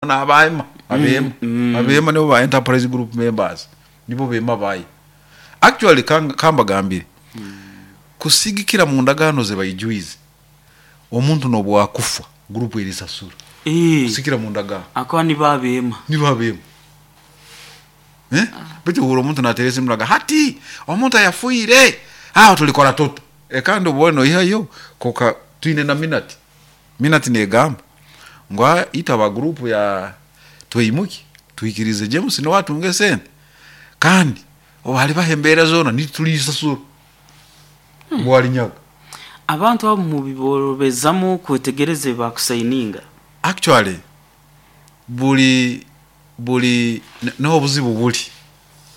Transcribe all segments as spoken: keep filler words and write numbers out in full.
N'abaema abeema Mm. abeema nibo ba enterprise group members, nibo beema bayo. Actually, kang- kambagambire, kusigikira mu ndagaano ze baijwize, omuntu n'obwakufa group erisasura. Eh, kusikira mu ndagaano. Akaba nibo abeema. Nibo abeema, eh? Baitu ohura omuntu nateereza emuraga hati omuntu ayafuire aho tulikora tuta? E, kandi obone noihayo koka twine na minute minute negamba ngu "Ah, itaba group ya Twimuki twikirize James niwe atunge sente, kandi obu halibaho embeera zoona nitulisasura bwalinyaga." Abantu abo mubiborobezamu kwetegereza bakusayininga? Actually, buli buli niho obuzibu buli.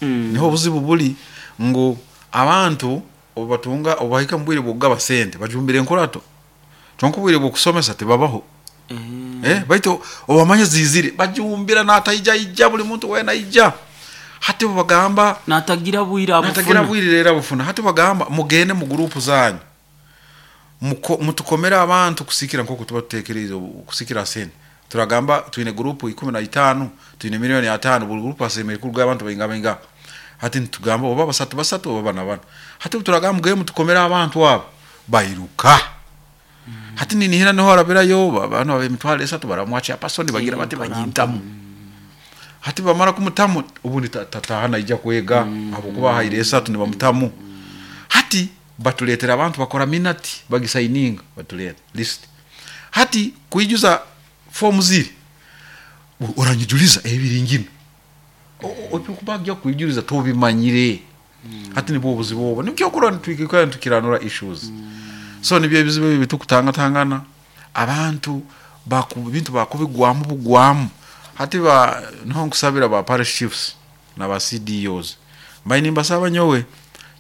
Mm. Niho obuzibu buli ngu abantu obubatunga, obubahika mu bwire bwokugaba sente bajumbira enkurato, kyonka obwire bwokusomesa tibabaho. Eh, eh, baitu obamanya zizire bajumbira nataija ija, buli muntu wena aija. Hati bubagamba natagira bwire natagira abufuna. Bwire rero abufuna. Hati bagamba mugende mu gurupu zanyu, Muko- mutukomere abantu kusikira nk'oku tuba tutekereize obu- kusikira sente. Turagamba twine gurupu ikumi na itaano, twine miliyoni ataano, buli gurupu asemere kuruga abantu bainga bainga. Hati nitugamba oba basatu basatu oba bana bana. Hati turagamba mugende mutukomere abantu abo, bairuka. Hati ninihira niho arabirayo ba- bano emitwaro esatu baramwacha pasoni bagira bati banyintamu. Hati bamara kumutamu, ubundi ta- tataha naija kwega habwokuba haire esatu nibamutamu. Hati batuletera abantu bakora minute, bagisayininga, batuleta list. Hati kuijuza fomu ziri u- oranyijuliza ebiringino ebikubagya kwijuliza tobimanyire. Hati nibwo obuzibu obwo, nikyo kurora nitwikikana nitukiranura issues. So nibyo ebizibu ebi bitukutangatangana abantu baku bintu bakubigwamu bugwamu. Hati ba niho nkusabira ba parish chiefs na ba C D Os, mbaye nimbasaba nyowe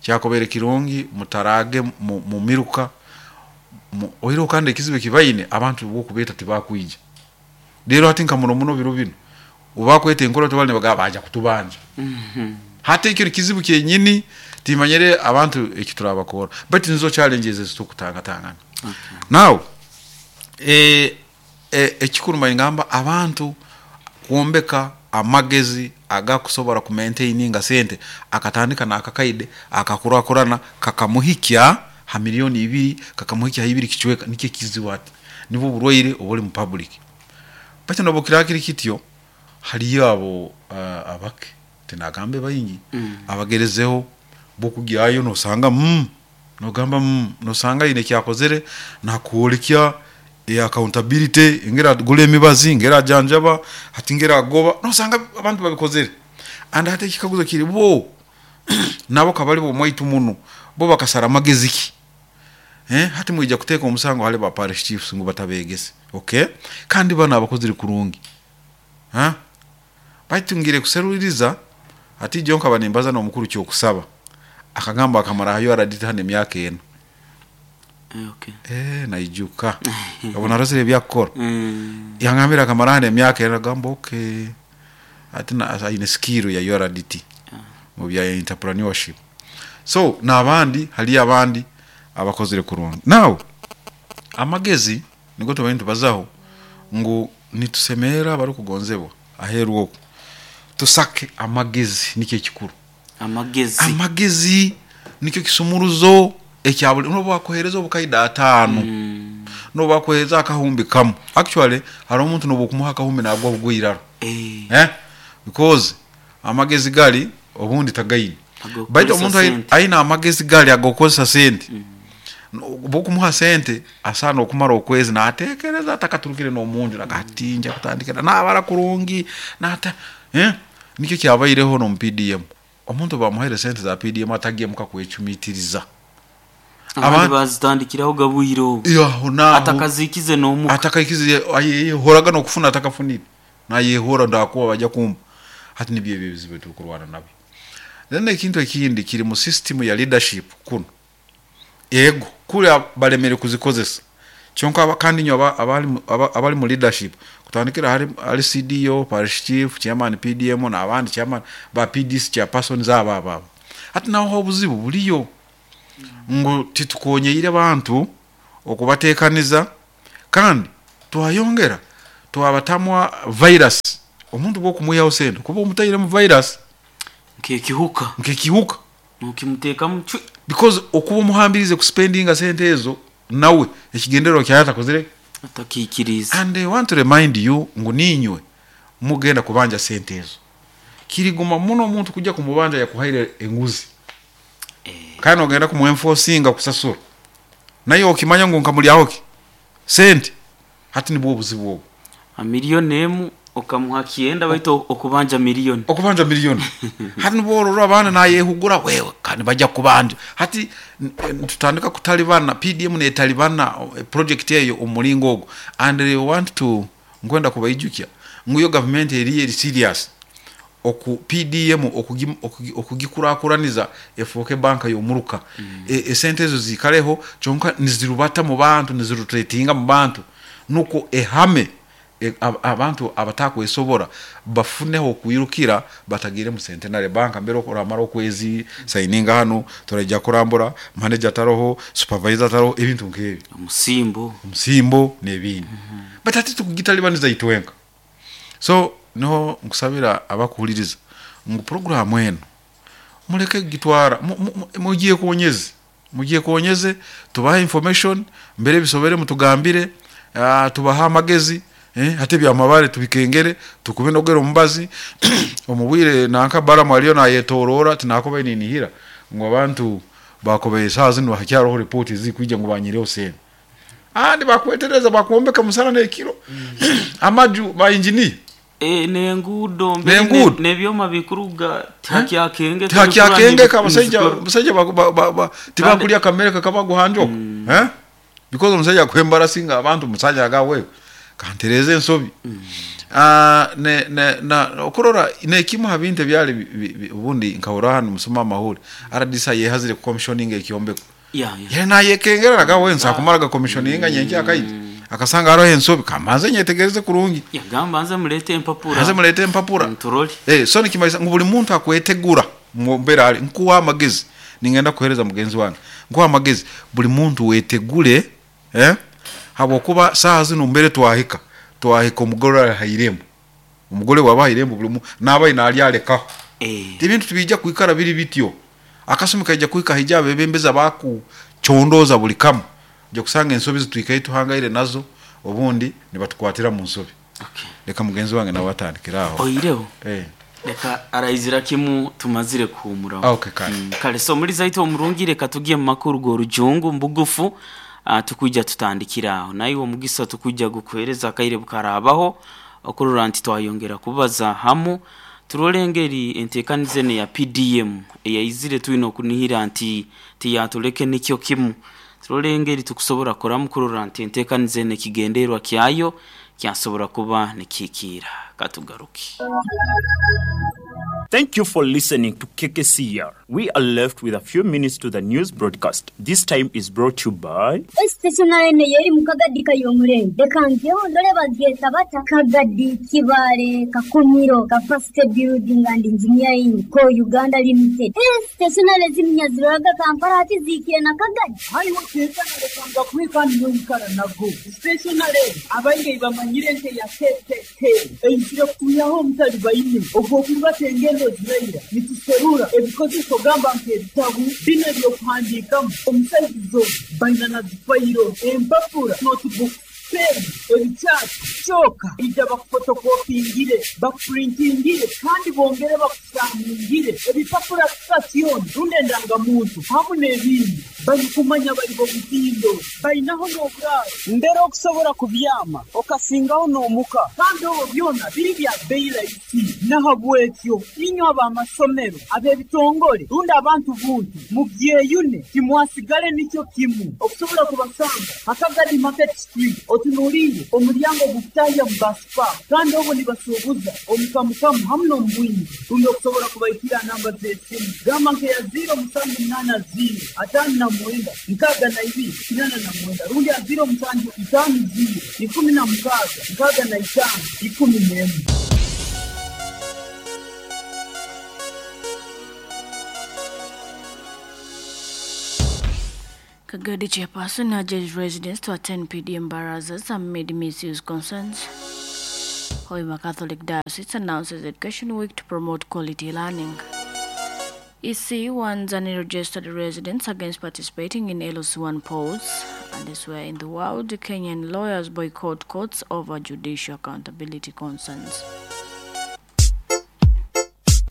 kyakobere kirungi mutarage mu, mu miruka mu- oireho. Kandi ekizibu ekibaine, abantu bokubeta tibakwija. Rero hati nka muno muno biro bino obakweta enkora tebali nibagamba baja kutubanja. Mhm. Hati ekyo kizibu kyenyini, timanyire abantu ekiturabakora, but nizo challenges ezitukutangatangana. Now e, e, ekikuru ngamba abantu kwombeka amagezi agakusobora kumaintaininga sente, akatandika nakakaide akakurakurana kakamuhikya ha miliyoni ibiri, kakamuhikya ha ibiri kicweka. Nikyo ekizibu hati, nibwo oburwaire obuli mu public. Baitu nobwo kiraa kiri kityo, haliyo abo uh, abake, tinagambe baingi, Mm. abagerezeho bokugyayo nosanga mm, nogamba mm, nosanga ine kyakozere nakwolekya e accountability, ngera agula emibazi, ngera ajanjaba, hati ngera agoba, nosanga abantu babikozere. And hati ekikaguzo kiri, bo nabo kabali bomwaitu muno, bo bakasara amagezi ki? Eh, hati mwija kuteeka omusango hali ba parish chiefs ngu batabegese, okay, kandi bano abakozere kurungi. Ha, baitu ngire kuseruliriza hati jo nkaba nimbaza n'omukuru kyokusaba, akagamba akamara hayo aradita hano emyaka ena. Eh, okay. Eh, naijuka obu narozere ebyakukora. Mm. Yangambira akamara hano emyaka ena. Gamba okay, ati na- aine skill ya U R D T mu bya entrepreneurship. So n'abandi, haliyo abandi abakozere kurungi. Now amagezi nigo tubaire nitubazaho ngu nitusemerera abarikugonzebwa aheeru okwo tusake amagezi, nikyo ekikuru. Amagezi. Amagezi nikyo kisumuruzo ekya buli nobu bakuhereza obukaida ataano, Mm. nobu bakuhereza akahumbi kamu. Actually, hariho omuntu nobu okumuha akahumbi nagwa bugwa. Eh, eh? Because amagezi gali obundi tagaine. Agokukozesa Baitu omuntu ai- sente. aine amagezi gali agokukozesa sente, bokumuha sente asaana okumara okwezi natekereza atakaturukire n'omunju, nagatinja kutandikira nabara kurungi nata, eh? Nikyo kyabaireho n'omu P D M, omuntu bamuhaire sente za P D M atagemuka kwecumitiriza. Abandi Abantu- bazitandikiraho gabwire obu yaho naho atakazikize n'omuka. Atakaikize, ayehoraga n'okufuna atakafunire, nayehora ndakuba bajya kumpa. Hati nibyo ebyo ebizibu tukurwana nabyo. Then ekintu ekindi kiri mu system ya leadership kuno. Ego kuli balemere kuzikozesa kyonka aba- kandi nyo aba- abali mu- aba- abali mu leadership, kutandikira hari, hari C D O, parish chief, chairman P D M n'abandi chairman ba P D C, chairpersons, aba aba aba. Hati naho obuzibu buliyo ngu titukonyeire abantu okubatekaniza, kandi twayongera Twabatamwa virus. Omuntu bwokumuyaho sente kuba omutairemu virus Nkekihuka. Nkekihuka. Nokimutekamu cwi. Because okuba omuhambirize kuspendinga sente ezo nawe ekigendererwa kyaye atakozire Atakikiriza. And I want to remind you ngu ninywe mugenda kubanja sente ezo. Kiriguma muno omuntu kujja kumubanja yakuhaire enguzi. Eh. Kandi ogenda kumuenforcinga kusasura. Naye okimanya ngu nkamulyaho ki? Sente. Hati nibwo obuzibu obwo. A miliyoni emu okamuha kienda baitu okubanja miliyoni. Okubanja miliyoni. Hati nibwo orora abaana nayehugura wewe kandi bajja kubanja. Hati tutandika kutalibana P D M netalibana project eyo omulingo ogwo. And they want to nkwenda kubaijukya ngu yo government eri eri serious. Oku P D M okugi-, okugi-, okugikurakuraniza efoke banka yomuruka. Mm. E, esente ezo zikaleho kyonka nizirubata mu bantu, nizirotatinga mu bantu nuko ehame e, ab-, abantu abatakwesobora bafuneho okuyirukira batagire mu Centenary Bank mbere okuramara okwezi signinga hano turajya kurambura manager taroho supervisor taroho ebintu nkebi Omusimbo. Omusimbo nebindi. Mm -hmm. But ati tukugitalibaniza itwenka. So niho nkusabira abakuhuliriza ngu program eno muleke gitwara mugiye kuonyeze mugiye kuonyeze tubahe information mbere bisobere mutugambire, uh, tubaha amagezi, eh, hate bya mabare tubikengere tukubinogera omubazi omubwire nanka bara mwaliyo na yetorora tinakoba ninihira ngo abantu bakobe saa zino hakyaro report zikwijja ngo banyireho sente andi bakwetereza bakuombeka musana nekiro mm. Amaju ba engineer E, nengudo mbere nebyoma bikuruga takyakenge takyakenge kabasajja basajja tibakulya kamereka kabaguhanjoko mm. Eh because omusajja kwembarasinga abantu musajja agawe kantereze ensobi mm. Ah ne ne na okurora nekimu habinte byali ubundi nkahora hano musoma amahuri R D C yehazire commissioning ekyombeko ya ya yena yekengera nagawe nsakumara commissioning nyenki akayi akasanga arohe ensobi kamaze nyetegereze kurungi yagamba nze mulete empapura nze mulete empapura nturoli eh so nikimaisa ngu buli muntu akwetegura mumbera ali nkuwa amagezi ningenda kuhereza mugenzi wange nkuwa amagezi buli muntu wetegule eh habwokuba saa zino mbere twahika twahika omugore hairembo omugore waba hairembo buli nabayi nali alekaho eh ebintu tubijja kuikara biri bityo akasumi kaija kuika hijabe bembeza baku chondoza buli kamu nje kusanga ensobi zitwikaye tuhangaire nazo obundi nibatukwatira mu nsobi. Okay. Leka mugenzi wange nawe atandikiraho. Oyireho. Eh. Leka arayizira kimu tumazire kuhumura. Okay kale. Mm, kale so muri zaito omurungi reka tugiye mu makuru go rujungu mbugufu uh, tukujja tutandikiraho. Naye uwo mugisa tukujja gukuhereza akaire bukarabaho okurora nti twayongera kubaza hamu turolengeri entekanize ne ya P D M eyayizire tuino kunihira nti tiyatuleke nikyo kimu. Turolengeri tukusobora koramu kurora nti entekanize ne kigenderwa kyayo kyasobora kuba nikikira katugaruki. Thank you for listening to K K C R. We are left with a few minutes to the news broadcast. This time is brought to you by Stationary ne yeri mukagadi kayomurenge. Dekangyo ndole bageta bata Kagadi Kibare Kakumiro Capacity Building and Engineering Co Uganda Limited. Stationary zimnyaziraga Kampala ati zikire na Kagadi. Hayi wakeka na kwika nyonkara nago. Stationary abainge bamanyire nte ya K K K. Eyisire kuyaho mutali bayine. Ogwo tengendo ziraira nituserura ebikozeso gamba nk'ebitabu bino ebyokuhandiikamu omusaizo baina na zifayiro empapura notebook pen ebikyati kyoka ijja bakufotokopingire bakupurintingire kandi bongere bakusaaningire ebipapura sitasiyooni rundi endangamuntu hamu n'ebindi balikumanya bali b'omutindo balinaho n'oburaaro mbere okusobola kubyama okasingaho n'omuka kandi obwo byona biri bya bbeeyi rahisi nahabwekyo inywe ab'amasomero ab'ebitongole rundi abantu buntu mubyeyune timwasigale nikyo kimu okusobola kubasanga Hakagadi Market Street otunuulire omulyango gukutahya mu basipa kandi obwo nibasuubuza omukamukamu hamu n'omubwingi rundi okusobola kubaikira namba z'esimu gamba nkeya ziro musanju munaana ziro ataano na mwenda nkaaga na ibiri kinana na mwenda rundi ya ziro musanju itaano ziro ikumi na mukaaga nkaaga na itaano ikumi n'emu. Kagadi chairperson urges residents to attend P D M barazas amid misuse concerns. Hoima Catholic Diocese announces Education Week to promote quality learning. E C warns unregistered residents against participating in L C one polls. And elsewhere in the world, Kenyan lawyers boycott courts over judicial accountability concerns.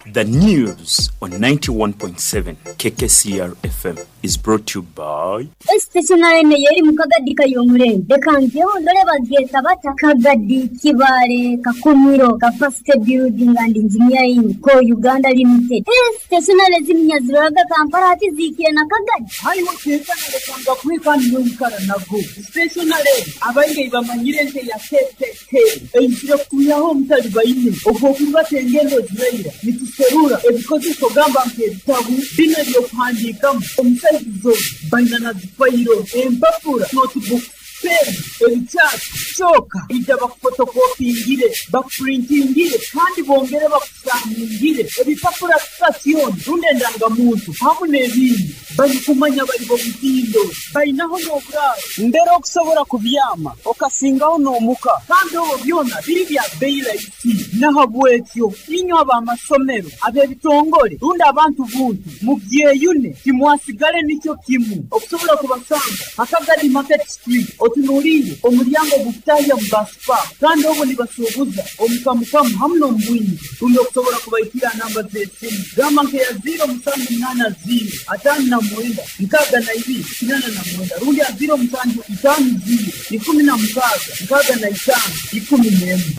The news on ninety-one point seven K K C R F M is brought to you by Stationary yeri mukagadi kayomurembe reka ndore bageta bata Kagadi Kibale Kakumiro Capacity Building and Engineering Co Uganda Limited. Stationary zimnyaziraga Kampala ati zikire na Kagadi haiwo tekana lekanga kwikani noikara nago stationary abainge bamanyire nte ya K K K eizire kuyaho omutali baine ogwo tengendo ziraira nituserura ebikozeso gamba nk'ebitabu bino ebyokuhandiikamu omusaizizo baina na zifayiro empapura notebook pen ebikyasi kyoka ija bakufotokopingire bakupurintingire kandi bongere bakusangingire ebipapura sitasioni rundi endangamuntu hamu n'ebindi barikumanya bari bomutindo bainaho n'oburaaro mbere okusobola kubyama okasingaho n'omuka kandi obwo byona biri bya beyi rahisi nahabwekyo inywe ab'amasomero ab'ebitongole rundi abantu buntu mubyeyune timwasigale nikyo kimu okusobola kubasanga Akagadi Market Street otunuulire omulyango gukutahya mu basipa kandi obwo nibasuubuza omukamukamu hamu n'omubwingi rundi okusobola kubaikira namba z'esimu gamba nkeya ziro musanju munaana ziro ataano na mwenda nkaaga na ibiri kinana na mwenda rundi ya ziro musanju itaano ziro ikumi na mukaaga nkaaga na itaano ikumi n'emwe.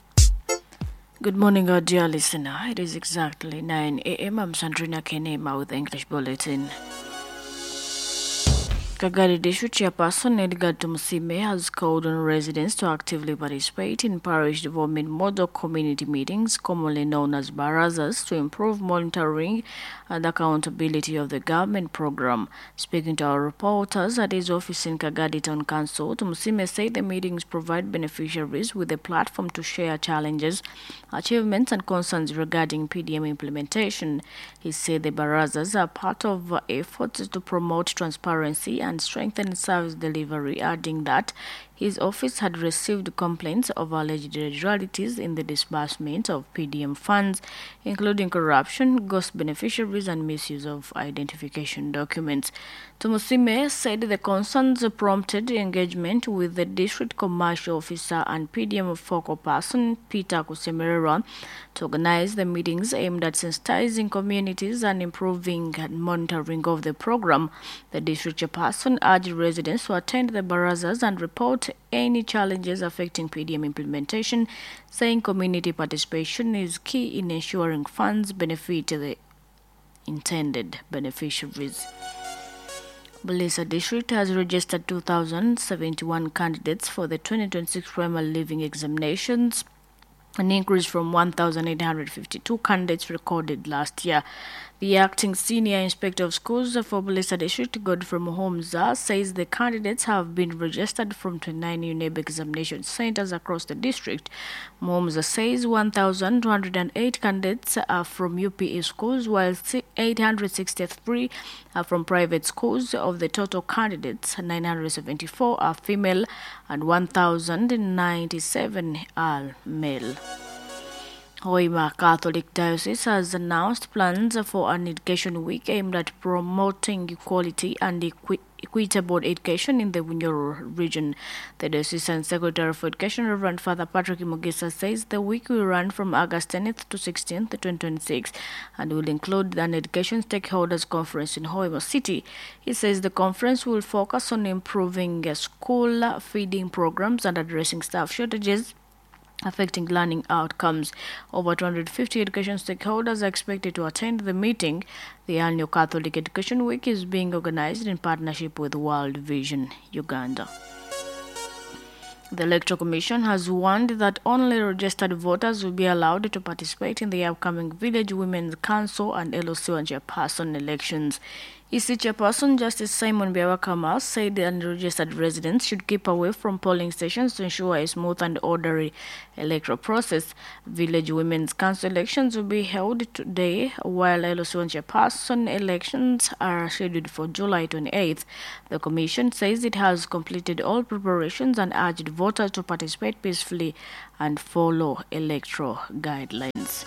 Good morning, our dear listener. It is exactly nine a m. I'm Sandrina Kenema with the English Bulletin. Kagadi District Chairperson Edgar Tumusime has called on residents to actively participate in parish development model community meetings, commonly known as barazas, to improve monitoring and accountability of the government program. Speaking to our reporters at his office in Kagadi Town Council, Tumusime said the meetings provide beneficiaries with a platform to share challenges, achievements and concerns regarding P D M implementation. He said the barazas are part of efforts to promote transparency and strengthen service delivery, adding that his office had received complaints of alleged irregularities in the disbursement of P D M funds, including corruption, ghost beneficiaries, and misuse of identification documents. Tumusime said the concerns prompted engagement with the district commercial officer and P D M focal person, Peter Kusemerera, to organize the meetings aimed at sensitizing communities and improving monitoring of the program. The district chairperson urged residents to attend the barazas and report any challenges affecting P D M implementation, saying community participation is key in ensuring funds benefit the intended beneficiaries. Bulisa District has registered two thousand seventy-one candidates for the twenty twenty-six primary leaving examinations, an increase from one thousand eight hundred fifty-two candidates recorded last year. The acting senior inspector of schools for Bulisa District, Godfrey Muhomza, says the candidates have been registered from twenty-nine UNEB examination centers across the district. Muhomza says one thousand two hundred eight candidates are from U P E schools, while eight hundred sixty-three are from private schools. Of the total candidates, nine hundred seventy-four are female and one thousand ninety-seven are male. Hoima Catholic Diocese has announced plans for an education week aimed at promoting equality and equi- equitable education in the Bunyoro region. The Diocesan Secretary for Education, Reverend Father Patrick Mugisa, says the week will run from August tenth to sixteenth, twenty twenty-six, and will include an education stakeholders conference in Hoima City. He says the conference will focus on improving school feeding programs and addressing staff shortages affecting learning outcomes. Over two hundred fifty education stakeholders are expected to attend the meeting. The annual Catholic Education Week is being organized in partnership with World Vision Uganda. The Electoral Commission has warned that only registered voters will be allowed to participate in the upcoming Village Women's Council and L O C one chairperson elections. E C Chairperson Justice Simon Byabakama said the unregistered residents should keep away from polling stations to ensure a smooth and orderly electoral process. Village Women's Council elections will be held today, while L C one Chairperson elections are scheduled for July twenty-eighth. The Commission says it has completed all preparations and urged voters to participate peacefully and follow electoral guidelines.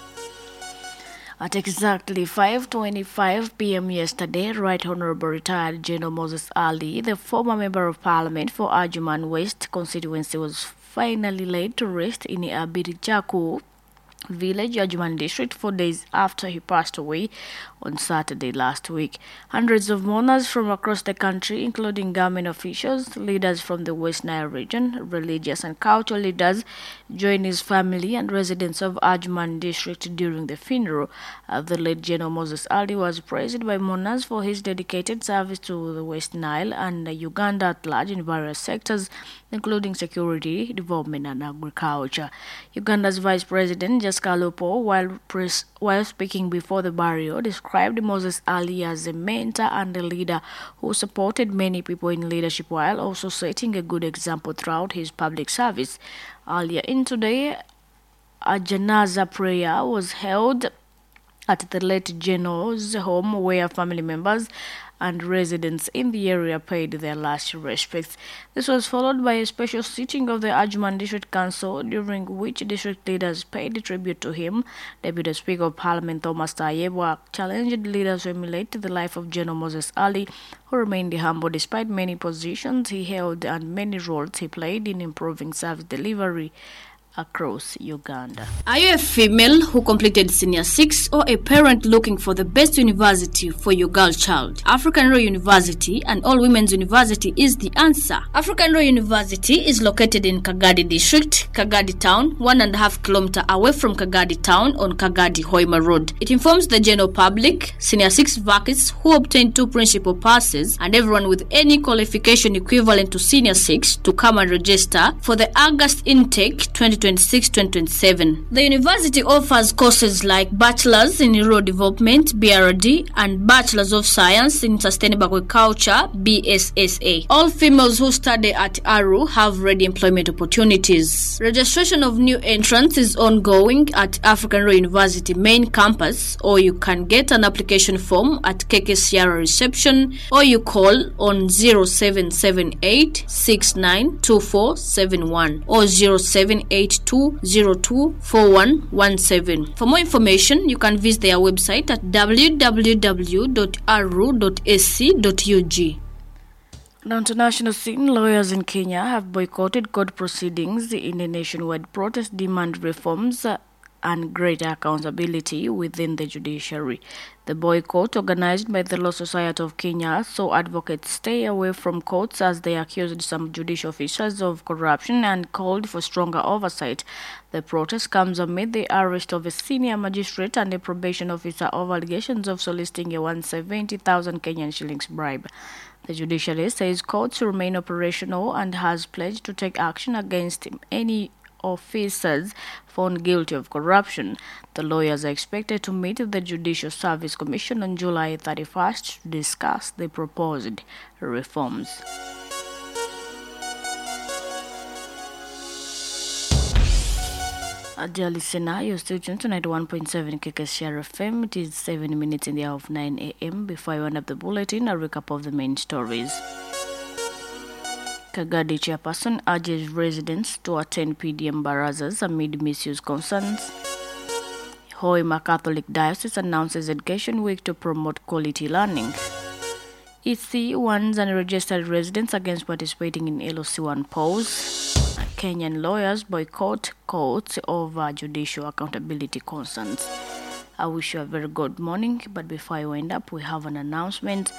At exactly five twenty-five p m yesterday, Right Honorable Retired General Moses Ali, the former Member of Parliament for Adjuman West constituency, was finally laid to rest in Abirichaku village, Adjuman district, four days after he passed away on Saturday last week. Hundreds of mourners from across the country, including government officials, leaders from the West Nile region, religious and cultural leaders, joined his family and residents of Adjuman district during the funeral. Uh, the late General Moses Ali was praised by mourners for his dedicated service to the West Nile and Uganda at large in various sectors, including security, development, and agriculture. Uganda's Vice President, Jessica Alupo, while, pres- while speaking before the burial, described Moses Ali as a mentor and a leader who supported many people in leadership while also setting a good example throughout his public service. Earlier in today, a janaza prayer was held at the late General's home, where family members and residents in the area paid their last respects. This was followed by a special sitting of the Adjuman District Council, during which district leaders paid tribute to him. Deputy Speaker of Parliament Thomas Tayebwa challenged leaders to emulate the life of General Moses Ali, who remained humble despite many positions he held and many roles he played in improving service delivery across Uganda. Are you a female who completed senior six or a parent looking for the best university for your girl child? African Royal University and All Women's University is the answer. African Royal University is located in Kagadi District, Kagadi Town, one and a half kilometer away from Kagadi Town on Kagadi Hoima Road. It informs the general public, senior six vacancies who obtained two principal passes, and everyone with any qualification equivalent to senior six to come and register for the August intake twenty twenty-six twenty twenty-seven. The university offers courses like Bachelor's in Rural Development B R D and Bachelor's of Science in Sustainable Agriculture B S S A. All females who study at A R U have ready employment opportunities. Registration of new entrants is ongoing at African Royal University main campus, or you can get an application form at K K C R reception, or you call on zero seven seven eight six nine two four seven one or zero seven eight two zero two four one one seven. For more information, you can visit their website at w w w dot aru dot a c dot u g. The international scene, lawyers in Kenya have boycotted court proceedings in a nationwide protest demand reforms uh, and greater accountability within the judiciary. The boycott, organized by the Law Society of Kenya, saw advocates stay away from courts as they accused some judicial officers of corruption and called for stronger oversight. The protest comes amid the arrest of a senior magistrate and a probation officer over allegations of soliciting a one hundred seventy thousand Kenyan shillings bribe. The judiciary says courts remain operational and has pledged to take action against any officers found guilty of corruption. The lawyers are expected to meet the Judicial Service Commission on July thirty-first to discuss the proposed reforms. Uh, dear listener, you're still tuned to ninety-one point seven K K C R F M. It is seven minutes in the hour of nine a m. Before I wind up the bulletin, a recap of the main stories. Kagadi chairperson urges residents to attend P D M barazas amid misuse concerns. Hoima Catholic Diocese announces Education Week to promote quality learning. E C warns unregistered residents against participating in L C one polls. Kenyan lawyers boycott courts over judicial accountability concerns. I wish you a very good morning, but before I wind up, we have an announcement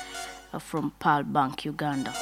uh, from Pearl Bank Uganda.